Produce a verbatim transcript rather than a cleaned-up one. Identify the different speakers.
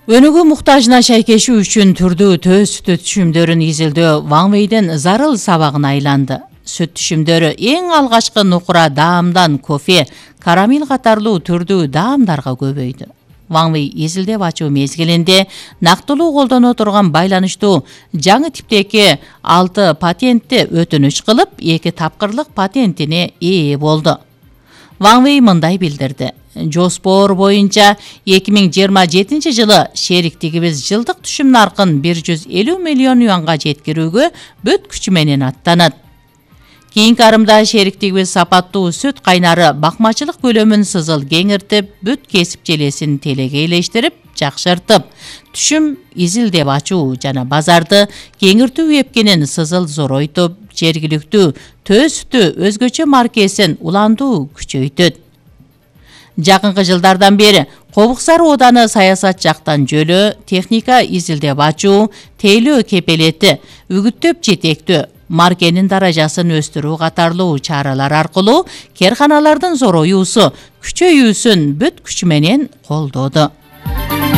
Speaker 1: Өнүгүү муктажына шайкешүү үчүн түрдүү төз сүт түшүмдөрүн изилдөө Ван Вэйден зарыл сабагына айланды. Сүт түшүмдөрү эң алгачкы нукура даамдан кофе, карамель катарлуу түрдүү даамдарга көбөйдү. Ван Вэй изилдеп ачуу мезгилинде нактылуу колдоно турган байланыштуу жаңы типтеги алты патентти өтүнүч кылып, эки тапкырлык патентине ээ болду. Ван Вэй мындай билдирди: Жоспор боюнча эки миң жыйырма жетинчи жылы шериктигибиз жылдык түшүм наркын бир жүз элүү миллион юанга жеткирүүгө бүт күчү менен аттанат. Кийинки арымда шериктигибиз сапаттуу сүт кайнары бакмачылык көлөмүн сызыл кеңиртип, бүт кесип желесин телегейлештирип, жакшыртып, түшүм изилдеп ачуу жана базарды кеңиртүү эпкенин сызыл зоройтуп, жергиликтүү төз сүтү өзгөчө маркесин уландуу күчөйтөт. Жакынкы жылдардан бери Кобук Сары ооданы саясат жактан жөлөө, техника изилдеп ачуу, тейлөө кепелети, үгүттөп жетектөө, маркенин даражасын өстүрүү катарлуу чаралар аркылуу керканалардын зороюусу, күчөйүүсүн бүт күчү менен колдоду.